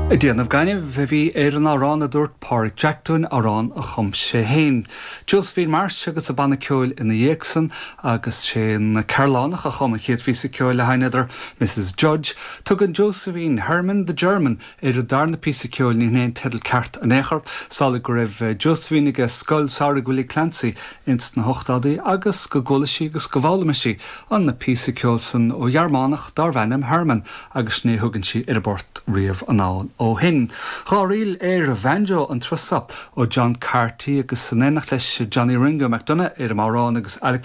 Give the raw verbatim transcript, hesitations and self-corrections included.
Ag déanamh gainimh a bhí ar an amhrán a dúirt Pádraig Jack dúinn amhrán a chum sé féin. Josephine Marsh agus a banna ceoil ina dhiaidh san agus sé an Cearlánach a chum an chéad phíosa ceoil le haghaidh an fheadair Mrs Judge, Tugann Josephine Herman the German ar an darna píosa ceoil ní haon teideal ceart in aon chor, samhlaigh go raibh Josephine ag scoil samhraidh Willie Clancy ins na hochtóidí agus go gcuala sí agus go bhfoghlaim sí an na píosa ceoil san ó Ghearmánach darbh ainm Herman agus ní thugann sí ar an bport riamh anall ó shin. Dhá ríl ar bhanjo an turas seo ó John Carty agus san éineacht leis Johnny Ringo McDonagh ar an amhrán agus Alec